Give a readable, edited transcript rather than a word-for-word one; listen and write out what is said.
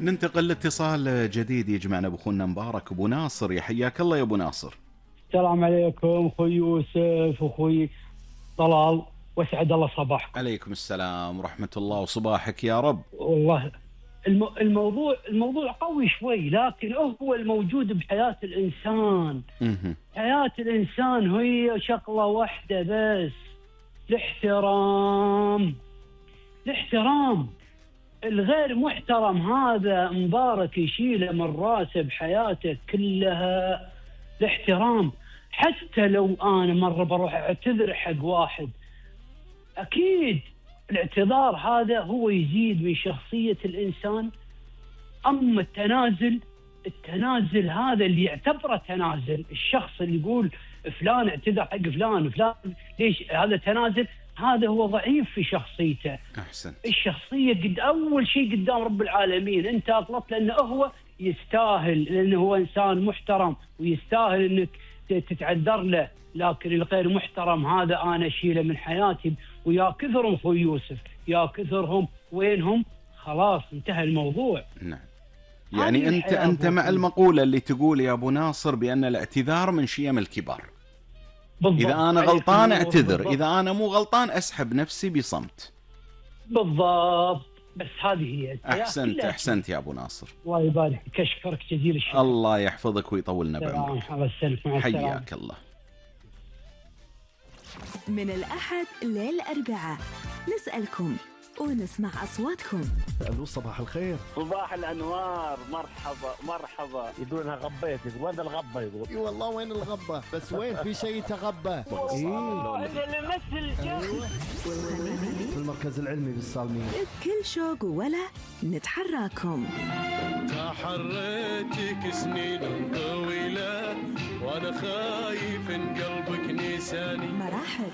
ننتقل لاتصال جديد يجمعنا بأخونا مبارك أبو ناصر. يا حياك الله يا أبو ناصر. السلام عليكم أخوي يوسف وأخوي طلال، واسعد الله صباحكم. عليكم السلام ورحمة الله وصباحك يا رب. والله الموضوع قوي شوي، لكن هو الموجود بحياة الإنسان. حياة الإنسان هي شغلة واحدة بس، الاحترام. الغير محترم هذا مبارك يشيله من راسه بحياته كلها. الاحترام، حتى لو أنا مرة بروح أعتذر حق واحد، أكيد الاعتذار هذا هو يزيد من شخصية الإنسان. أما التنازل هذا اللي يعتبره تنازل، الشخص اللي يقول فلان اعتذر حق فلان ليش هذا تنازل؟ هذا هو ضعيف في شخصيته. أحسن. الشخصية أول شيء قدام رب العالمين أنت أغلطت، لأنه هو يستاهل، لأنه هو إنسان محترم ويستاهل أنك تتعذر له. لكن الغير محترم هذا أنا أشيله من حياتي، ويا كثرهم أخوي يوسف، يا كثرهم. وينهم؟ خلاص انتهى الموضوع. نعم. يعني أنت مع المقولة اللي تقول يا أبو ناصر بأن الاعتذار من شيم الكبار. بالضبط. إذا أنا غلطان أعتذر، بالضبط. إذا أنا مو غلطان أسحب نفسي بصمت. بالضبط. بس هذه هي. أحسنت يا أبو ناصر. الله يبارك، أشكرك جزيل الشكر. الله يحفظك ويطولنا بعمرك. حياك الله. من الأحد للأربعاء نسألكم ونسمع أصواتكم. ألو صباح الخير. صباح الأنوار. مرحبا. يقولونها غبيت، وين الغبة؟ يقول اي والله وين الغبة، بس وين في شيء تغبى. في المركز العلمي بالصالمين. بكل شوق ولا نتحراكم. تحريتك سنين طويلة وأنا خايف إن قلبك نساني. مراحب.